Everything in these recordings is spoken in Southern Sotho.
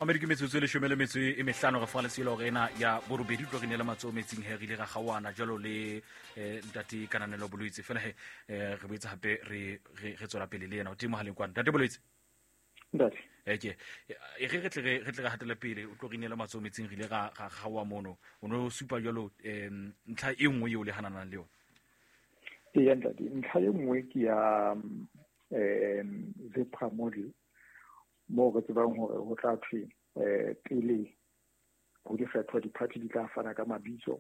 Mamedi, ke metsotso e 15 re fa leselo re ena ya borobedi tlo re neela matsoho metsing he re ile ra gaoana jalo le ntate Kananelo Boloitse. Fela he re boetse hape re re tswela pele le yena o teng mohaleng kwana. Ntate Boloitse. Ntate. Ke e re tle re tle re hatele pele o tlo re neela matsoho metsing re ile ra gaoa mono. O no supa jalo ntlha e nngwe eo le hananang le yona. Ee ntate, ntlha e nngwe ke ya ZEPRA model moo re tsebang hore ho tla thwe pele ho dikgetho di-party di tla fana ka mabitso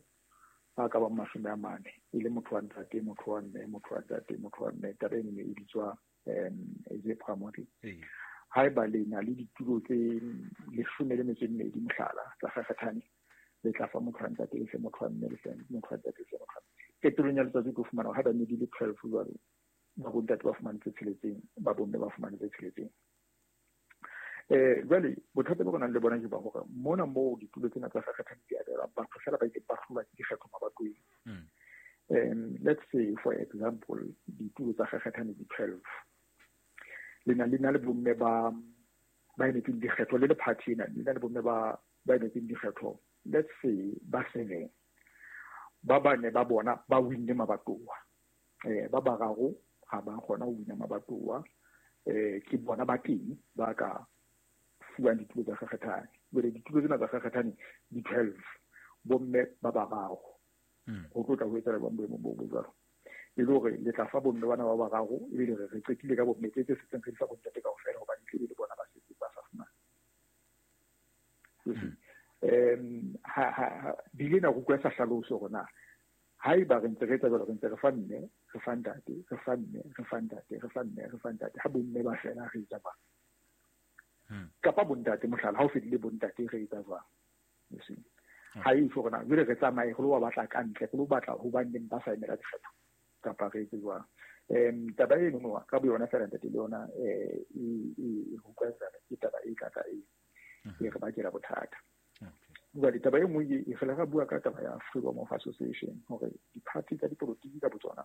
a ka bang 40, e le motho wa ntate, motho wa mme, motho wa ntate, motho wa mme. Taba eno e bitswa ZEPRA model. Haeba le na le ditulo tse 12 mohlala tsa kgakgathane, le tla fa motho wa ntate, le fe motho wa mme, le fe motho wa ntate, le fe motho wa mme. Qetellong ya letsatsi o tlo fumana hore haeba ne di le 12 jwalo, ba bontate ba fumane tse 6, ba bomme ba fumane tse 6. Jwale bothata bo re nang le bona ke ba hore mona moo ditulo tsena tsa kgakgathane di abelwa batho fela ba ileng ba hlolwa ke dikgetho mabatoweng. Let's say for example ditulo tsa kgakgathane di 12, le na le bomme ba emetseng dikgetho le le party ena, le na le bomme ba emetseng dikgetho, let's say ba 7, ba bane ba bona ba winne mabatowa, ba bararo ha ba kgona ho wina mabatowa, ke bona ba teng ba ka fuwang ditulo tsa kgakgathane. Jwale ditulo tsena tsa kgakgathane di 12, bomme ba bararo. Ho tlo tla ho etsahala jwang boemong bo bo jwalo? E le hore le tla fa bomme bana ba bararo, ebe le re qetile ka bomme tse setseng re di fa bontate kaofela, hobane tle le bona ba setse ba sa fumana. Ha bile na utlwa sa hlaloso hore na haeba re ntse re etsa jwalo, re ntse re fa mme, re fa ntate, re fa mme, re fa ntate, re fa mme, re fa ntate, ha bomme ba fela re etsa jwang? Kapa bontate mohlala, ha o fedile bontate re etsa jwang? You see? Ha e tjho rona jwale re tsamaye re lo ba batla ka ntle, re lo batla ho baneng ba sa emela dikgetho, kapa re etse jwang? Taba eno no ka boyona fela ntate le yona e utlwa ke taba e tla tla e re bakela bothata. Jwale taba e nngwe e fela ra bua ka taba ya freedom of association, hore di-party tsa dipolotiki ka botsona,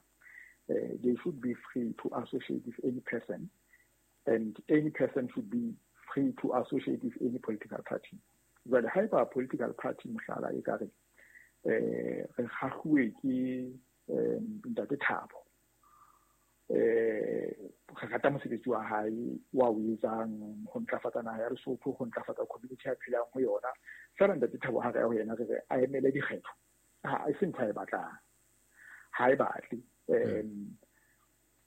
they should be free to associate with any person, and any person should be free to associate with any political party. Jwale haeba political party mohlala e ka re re kgahluwe ke ntate Thabo, re rata mosebetsi wa hae wa o etsang ho ntlafatsa naha ya Lesotho, ho ntlafatsa community ya phelang ho yona, fela ntate Thabo ha re ya ho yena re re a emele dikgetho, ha e se ntho a e batlang, ha e batle,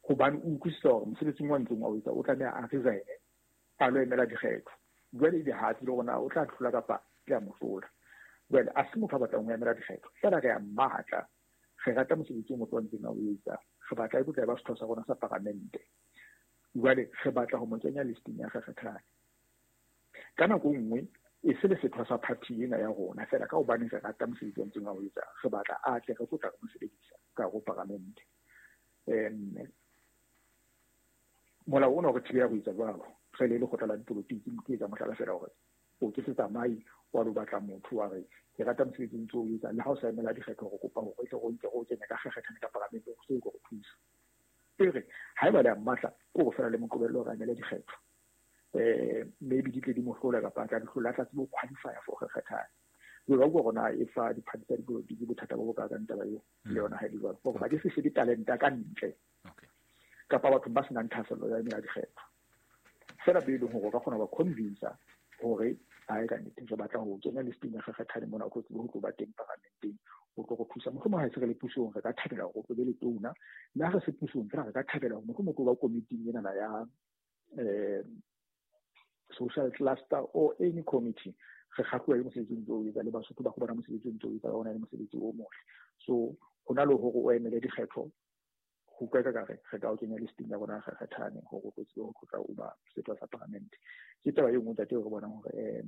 hobane o utlwisisa hore mosebetsing wa ntseng wa o etsa o tlameha a resign a lo emela dikgetho. Jwale ebe ha tsebe hore na o tla hlola kapa ke a mo hlola. Jwale a se motho a batlang ho emela dikgetho, fela re a mmatla, re rata mosebetsi o motho wa ntseng a o etsa, re batla e tlo ba setho sa rona sa paramente, jwale re batla ho mo kenya listing ya kgakgathane. Ka nako nngwe e se le setho sa party ena ya rona fela, ka hobane re rata mosebetsi wa ntseng a o etsa, re batla a tle re tlo tla re mo sebedisa ka ho paramente. Molao ona o re thibela ho etsa jwalo, re le lekgotla la dipolotiki, ke etsa mohlala fela hore o ke se tsamaye wa lo batla motho wa re ke rata mosebetsi o ntse o etsa, le ha o sa emela dikgetho re kopa hore tle re nke re o kenye ka kgakgathane ka paramenteng, o se o tlo re thusa. E re haeba le a mmatla, ke hore fela le mo qobelle hore a emele dikgetho, maybe di tle di mo hlola kapa a tla di hlola, a tla tsebe ho qualify for kgakgathane. Jwale ba utlwa hore na e fa di-party tsa dipolotiki bothata bo bokaakang taba eo, le yona ha e le jwalo, hore ba ke se shebe talenta ka ntle kapa batho ba senang thahasello ya emela dikgetho, fela be e leng hore o ka kgona ho ba convince hore a e ka nnete re batla ho kenya listing ya kgakgathane mona, o tlo tsebe ho tlo ba teng paramenteng, o tlo go thusa. Mohlomong ha e se re le pusong re ka thabela hore o tlo be le tona, mme ha re se pusong fela re ka thabela hore mohlomong o tlo ba komiting enana ya social cluster or any committee. Re kgahluwa ke mosebetsi o ntse o etsa, le Basotho ba go bona mosebetsi o ntse o etsa, ba bona le mosebetsi o motle. So ho na le hore o emele dikgetho, ho utlwa ka re re ka o kenya listing ya rona ya kgakgathane hore o tlo tsebe ho tlotla o ba setho sa paramente. Ke taba e nngwe ntate eo re bonang hore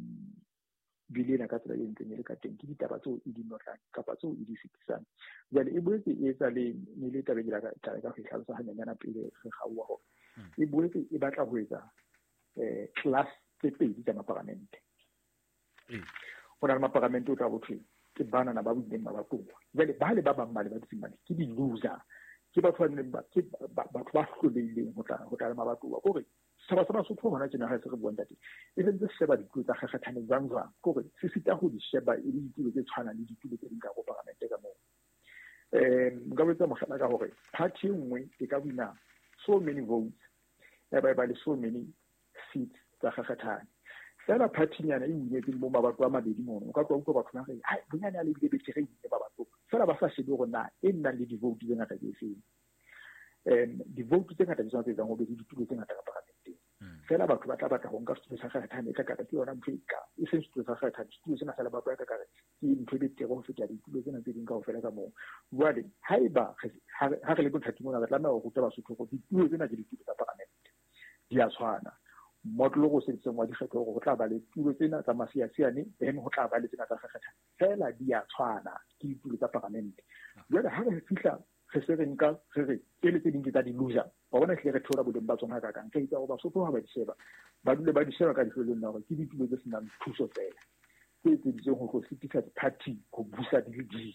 bili ena ka tsela e ntseng e le ka teng ke ditaba tseo e di notlang kapa tseo e di fetisang. Jwale e boetse e etsa le ne le taba e ke tla ka ho e hlalosa hanyenyana pele re kgaoha, hore e boetse e batla ho etsa class tse pedi tsa maparamente. Ho na le maparamente o tla bo thwe ke banana ba buileng mabatowa, jwale ba le ba bang ba le ba dutseng mane ke di-loser, ke batho ba neng ke batho ba hlolehileng ho tla le mabatowa. Kore Setjhaba sa Basotho hona tjena ha se re buang, ntate, e sentse se sheba ditulo tsa kgakgathane jwang jwang, ke hore se sita ho di sheba e le ditulo tse tshwanang le ditulo tse ding ka ho paramente ka moo. Nka botsa mohlala ka hore party e nngwe e ka wina so many votes, ya ba e ba le so many seats tsa kgakgathane. Fela party-nyana e winetseng bo mabato a mabedi mono, o ka tloha utlwa batho ba re hai bonyane a le bile betere e winne mabato, fela ba sa shebe hore na e nnang le di-vote tse ngata ke efeng. Di-vote tse ngata ke tsona tse etsang ho be le ditulo tse ngata ka paramenteng. Fela batho ba tla batla ho nka setulo sa kgakgathane e ka kare ke yona ntho e ka e seng setulo sa kgakgathane, setulo sena sa lebato e ka kare ke ntho e betere ho feta ditulo tsena tse ding kaofela ka moo. Jwale haeba ha re le bothating mona, re tlameha ho ruta Basotho hore ditulo tsena ke ditulo tsa paramente, di a tshwana. Motlolo o sebedisang wa dikgetho hore ho tla ba le tulo tsena tsa masiasiane, then ho tla ba le tsena tsa kgakgathane, fela di a tshwana, ke ditulo tsa paramente. Jwale ha re fihla re se re nka re re tsele tse ding ke tsa di-loser, wa bona ehlile re theola boleng ba tsona hakakang. Re etsa hore Basotho ha ba di sheba, ba dule ba di sheba ka leihlo la hore ke ditulo tse senang thuso fela, tse etseditsweng ho tlo sitisa di-party ho busa di le ding.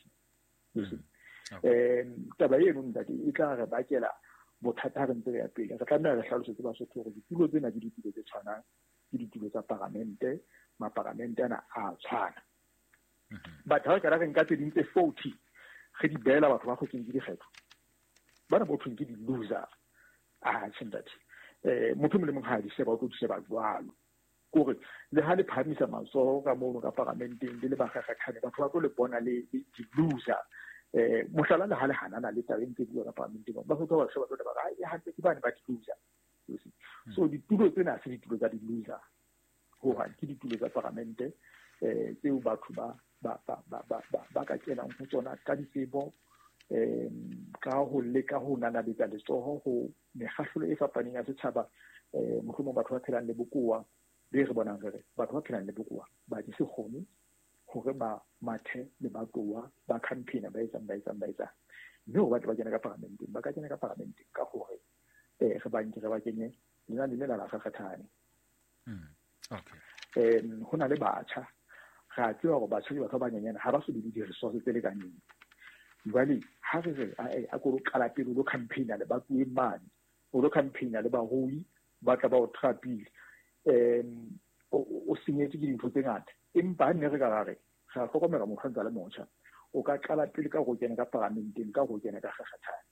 Taba eno, ntate, e tla re bakela bothata ha re ntse re ya pele. Re tlameha re hlalosetse Basotho hore ditulo tsena ke ditulo tse tshwanang, ke ditulo tsa paramente, maparamente ana a tshwana. But ha re ka re nka tse ding tse 40 re di beela batho ba kgotseng ke dikgetho, bana bo thweng ke di-loser, a tjhe ntate, motho e mong le mong ha a di sheba o tlo di sheba jwalo. Kore le ha le phahamisa matsoho ka mono ka paramenteng le le bakgakgathane, batho ba tlo le bona le di-loser. Mohlala le ha le hanana le taba e ntse bua ka paramenteng, ba tlo ba sheba tlo ba re hantle ke bane ba di-loser. So ditulo tsena ha se ditulo tsa di-loser hohang, ke ditulo tsa paramente tseo batho ba ka kenang ho tsona ka ditsebo, ka ho leka ho nanabetsa letsoho ho mekgahlelo e fapaneng ya setjhaba. Mohlomong batho ba phelang le bokowa, be re bonang re re batho ba phelang le bokowa ba di se kgone hore ba mathe le batowa ba campaign ba etsang ba etsang ba etsang, mme hore ba tle ba kene ka paramenteng, ba ka kena ka paramenteng ka hore re ba nke re ba kenye lenane lena la kgakgathane. Ho na le batjha, re a tseba hore batjha ke batho ba banyenyane, ha ba so be le di-resource tse lekaneng. Jwale ha re re a ko lo qala pele o lo campaign-a le batuweng mane, o lo campaign-a le barui ba tla ba o trapile, o senyetswe ke dintho tse ngata. Empa ha nne re ka ra re re a hlokomela motho a ntse a le motjha, o ka qala pele ka ho kena ka paramenteng, ka ho kena ka kgakgathane,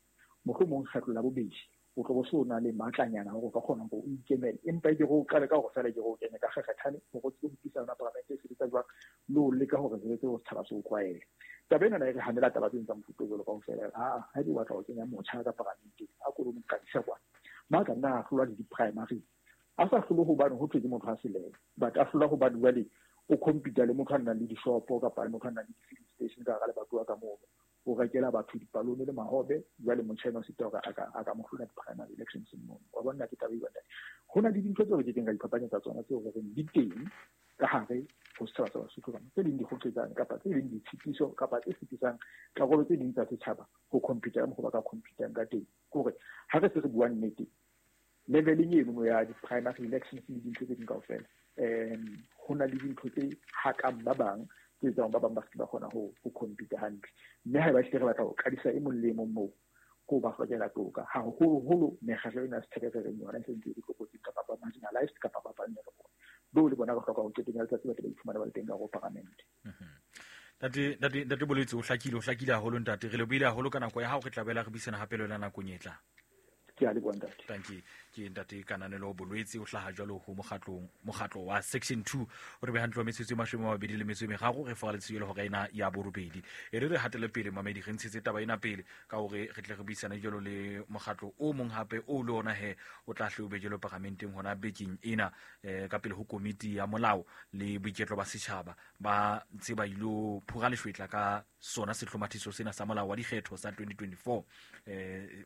mohlomong kgetlo la bobedi o tlo bo se o na le matlanyana hore o ka kgona hore o ikemele. Empa ke go qale ka hore fela ke go kene ka kgakgathane hore o tsebe ho utlwisisa yona paramente e sebetsa jwang, le ho leka hore re tsebe ho setjhaba se o tlwaele. Taba ena e re hanela taba tse tsa mofuta o jwalo kaofela. Ha ebe o batla ho kenya motjha ka paramenteng, a ko lo mo qadisa kwana, ma ka nna a hlolwa le di-primary, a sa hlole hobane ho thwe ke motho a selele, but a hlola hobane jwale o compete le motho a nang le dishopo kapa le motho a nang le di-filling station ka hara lebatowa ka mono, o rekela batho dipalone le mahobe. Jwale motjha ena o sita hore a ka mo hlola di-primary elections mono. Wa bona ke taba e ntate. Ho na le dintho tseo re kekeng ra iphapanyetsa tsona, tseo re reng di teng ka hare ho setjhaba sa Basotho kana, tse ding di kgotsotsang kapa tse ding ditshitiso kapa tse sitisang karolo tse ding tsa setjhaba ho compete ka mokgwa ba ka competang ka teng. Ke hore ha re se re bua nnete, leveleng eno ya di-primary elections le dintho tse ding kaofela, ho na le dintho tse hakang ba bang, tse etsang ba bang ba se ba kgona ho compete hantle. Mme haeba ehlile re batla ho qadisa e mong le e mong moo, ko ba hlokela toka, haholoholo mekgatlo ena ya setjhaba e re reng yona e sentse e le tlokotsing kapa ba marginalized kapa ba vulnerable, beo le bona re hloka ho qetong ya letsatsi ba tle ba iphumane ba le teng ka hare ho paramente. Ntate Bolwetse, o hlakile haholo ntate, re lebohile haholo ka nako ya hao, re tla boela re buisana hape le wena nakong e tlang. Ke a leboha ntate. Thank you. Ke ntate Kananelo Bolwetse, o hlaha jwalo ho mokgatlo wa Section 2, o re beha ntlo metsotso e 23 re fora letsatsi le hora ena ya borobedi. E re re hatele pele mamedi, re ntshetse taba ena pele ka hore re tle re buisane jwalo le mokgatlo o mong hape o le ona he o tla hle o be jwalo paramenteng hona bekeng ena, ka pele ho komiti ya molao le boiketlo ba setjhaba ba ntse ba ilo phura leshwetla ka sona sehlomathiso sena sa molao wa dikgetho sa 2024.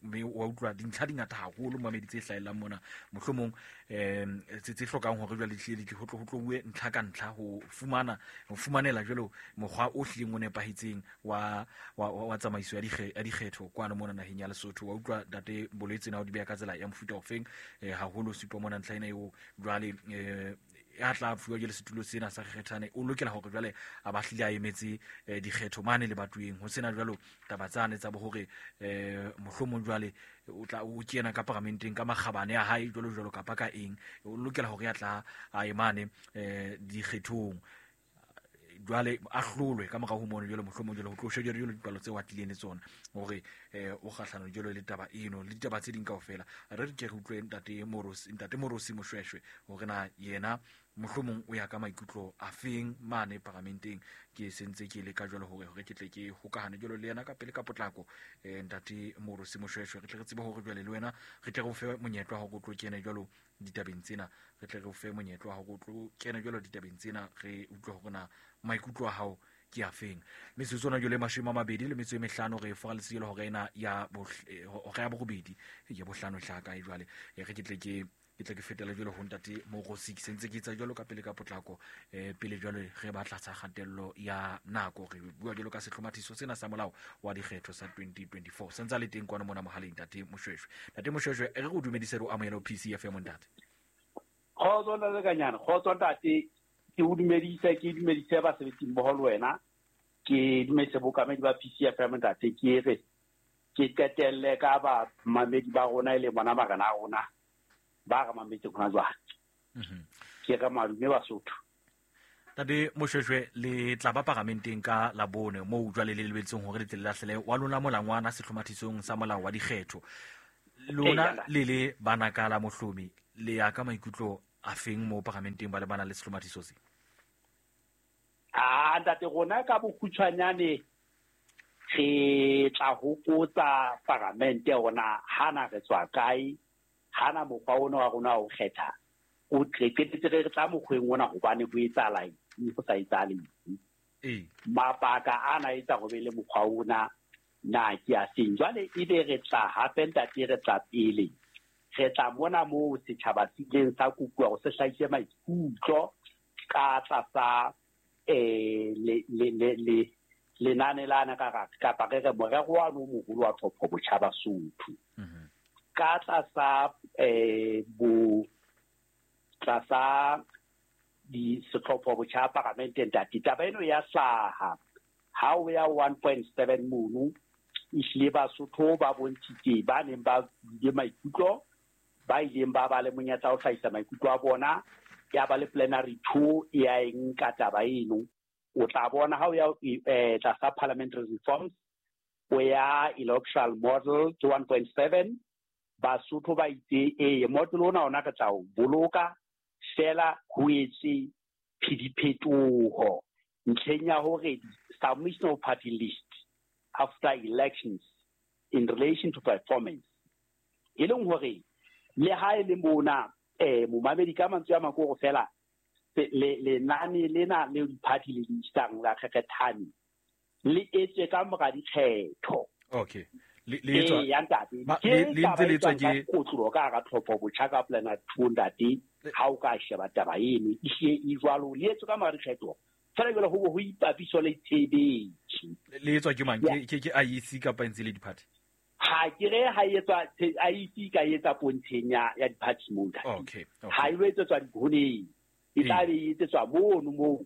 Mme wa utlwa dintlha di ngata haholo mamedi tse hlahellang mona, mohlomong tse hlokang hore jwale di tle di ho tlo bue ntlha ka ntlha ho fumanela jwalo mokgwa o hlileng o nepahetseng wa tsamaiso ya dikgetho kwano mona naheng ya Lesotho. Wa utlwa ntate Bolwetse na o di beha ka tsela ya mofuta ofeng, haholo supa mona ntlha ena eo jwale Ya tla fuwa jwale setulo sena sa kgethane o lokela hore jwale a ba hlile a emetse dikgetho mane le batweng ho sena jwalo taba tsane tsa bo hore mohlomong jwale o tla o kena ka paramenteng ka makgabane a hae jwalo jwalo kapa ka eng, o lokela hore ya tla a emane dikgethong jwale a hlolwe ka morao ho mono jwale mohlomong jwale ho tlo shejwa jwale dipalo tse atileng le tsona hore o kgahlano jwale le taba eno le ditaba tse ding kaofela. Re re ke re utlwe ntate Morosi Moshweshwe hore na yena mohlomong o ya ka maikutlo a feng mane paramenteng. Ke sentse ke le ka jwale hore ke tle ke hokahane jwalo le yena ka pele ka potlako. Ntate Morosi Moshweshwe, re tle re tsebe hore jwale le wena re tle re o fe monyetla wa hore o tlo kene jwalo ditabeng tsena, re tle re o fe monyetla wa hore o tlo kene jwalo ditabeng tsena, re utlwe hore na maikutlo a hao ke a feng. Metsotso ona jwale 25 re fora letsatsi hore ena ya hora ya borobedi ya bohlano hlaka e jwale re ke tle ke tle ke fetela jwale ho ntate Morosi. Ke sentse ke etsa jwalo ka pele ka potlako pele jwale re batla tsa kgatello ya nako. Re bua jwalo ka sehlomathiso sena sa molao wa dikgetho sa 2024 sentse le teng kwana mona mohaleng ntate Moshweshwe. Ntate Moshweshwe, re go dumedise re o amohele PCFM ntate. Kgotso ntate Kanyana, kgotso ntate, ke o dumedise, ke dumedise basebetsi mmoho le wena, ke dumedise bokamedi ba PCFM ntate, ke re ke qetelle ka ba mamedi ba rona e le bona marena a rona ba re mametse hona jwale. Ke re madume Basotho. Ntate Moshweshwe, le tla ba paramenteng ka Labone moo jwale le lebetseng hore le tle le lahlele wa lona molangwana sehlomathisong sa molao wa dikgetho. Lona le le bana ka la mohlomi le ya ka maikutlo a feng mo paramenteng ba le bana le sehlomathiso se? Ntate, rona ka bokgutshwanyane re tla hopotsa paramente rona hana re tswa kae, hana mokgwa ona wa rona wa ho kgetha o qetetse re tla mokgweng ona hobane ho etsahala eng, ho sa etsahale eng. Mabaka ana etsa ho be le mokgwa ona na ke a seng. Jwale ebe re tla hape ntate, re tla pele re tla mona moo setjhaba se ileng sa kopuwa hore se hlahise maikutlo ka tlasa le lenane lana kapa re re morero wa no moholo wa tlhopho botjha Basotho. Ka tlasa bo tlasa di setlhopho botjha paramente ntate, taba eno ya hlaha ha o ya 1.7 mono ehlile Basotho ba bontshitse ba neng ba bile maikutlo, ba ileng ba ba le monyetla wa ho hlahisa maikutlo a bona, ya ba le plenary 2 ya eng ka taba eno. O tla bona ha o ya tlasa parliamentary reforms o ya electoral model ke 1.7, Basotho ba itse ee model ona ona re tla o boloka fela ho etse diphetoho ntlheng ya hore submission of party list after elections in relation to performance, e leng hore le ha e le mona momamedi ka mantswe a makoro fela lenane lena le di-party le isang la kgethane le etswe ka mora dikgetho. Okay, le etswa ya ntate le ntse le etswa ke kotlo ka hara tlhopho botjha ka plana 2 ntate. Ha o ka sheba taba eno e e jwalo, le etswe ka mora dikgetho fela jwale ho ipapiso le tshebetso. Le etswa ke mang? Ke IEC kapa ntse le di-party? Ha ke re ha etswa IEC ka etsa pontsheng ya di-party moo ntate. Okay, ha e etswa dihoneng, e tla be e etsetswa mono moo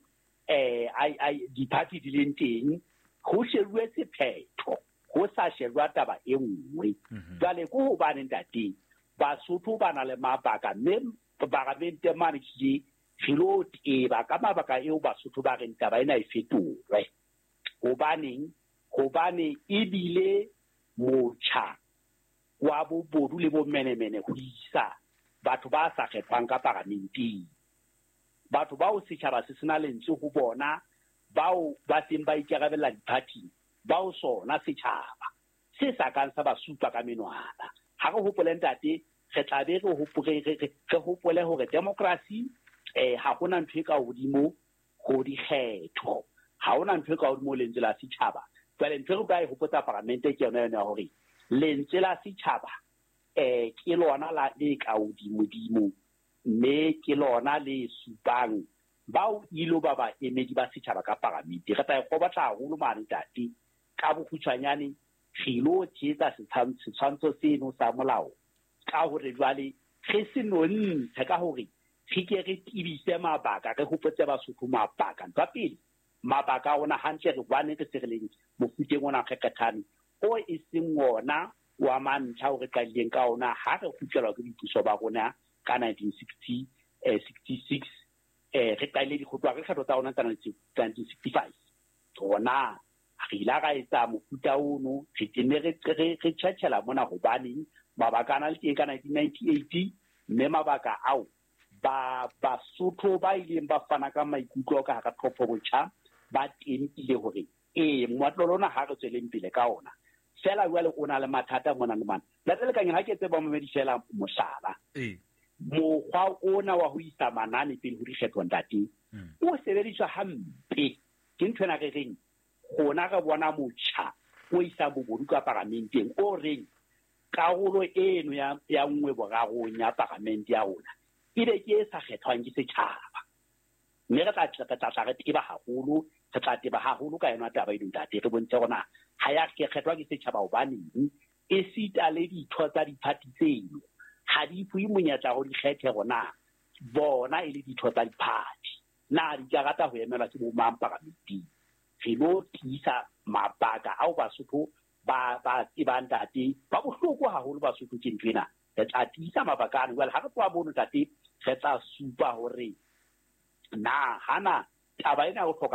di-party di leng teng, ho shebuwe sephetho, ho sa shejwa taba e nngwe. Jwale ke hobane ntate Basotho ba na le mabaka, mme paramente mane ke re lo teba ka mabaka eo Basotho ba reng taba ena e fetolwe. Hobaneng? Hobane ebile motjha wa bobodu le bomenemene ho isa batho ba sa kgethwang ka paramenteng, batho bao setjhaba se sena lentswe ho bona, bao ba seng ba ikarabella di-party, bao sona setjhaba se sa kang sa ba supa ka menwana. Ha re hopole ntate, re tla be re hopole hore democracy ha hona ntho e ka hodimo ho dikgetho, ha hona ntho e ka hodimo lentswe la setjhaba. Jwale ntho e re ka e hopotsa paramente ke yona yona ya hore lentswe la setjhaba ke lona la le ka hodimodimo, mme ke lona le supang bao ilo ba baemedi ba setjhaba ka paramente. Re tla e kgobatla haholo mane ntate. Ka bokgutshwanyane re ilo tshehetsa setshwantsho seno sa molao ka hore jwale re se nontshe ka hore Re ke re tebise mabaka, re hopotse Basotho mabaka. Ntho ya pele, mabaka a rona hantle re hobaneng re se re leng mofuteng ona kgekgethane o e seng ona wa mantlha o re qadileng ka ona ha re kgutlelwa ke boipuso ba rona ka 1966. Re qadile dikgotwa re kgetho tsa rona tsa 1965. Rona re ile ra etsa mofuta ono, re tenne re tjhetjhela mona hobaneng mabaka a na le teng ka 1998, mme mabaka ao ba Basotho ba ileng ba fana ka maikutlo ka hara tlhopho botjha ba tempile hore ee moatlolo ona ha re tsweleng pele ka ona. Fela jwale o na le mathata mona le mane. Ntate Lekanyeng, ha ke tseba momedi fela mohlala. Mokgwa ona wa ho isa manane pele ho dikgetho ntate o sebediswa hampe. Ke ntho ena re reng rona re bona motjha o isang bobodu ka paramenteng o reng karolo eno ya 1/3 ya paramente ya rona ebe ke e sa kgethwang ke setjhaba. Mme re tla re teba haholo, re tla teba haholo ka yona taba eno ntate, re bontshe hore na ha ya kgethwa ke setjhaba hobaneng, esita le ditho tsa diphathi tseno ha di fuwe monyetla hore di kgethe hore na bona e le ditho tsa diphathi na di ka rata ho emelwa ke bo mang paramenteng. Re lo tiisa mabaka ao Basotho ba tsebang ntate, ba bohloko haholo Basotho ke ntho ena. Re tla tiisa mabaka ano. Jwale ha re tloha mono ntate, re tla supa hore na hana taba ena ya ho hloka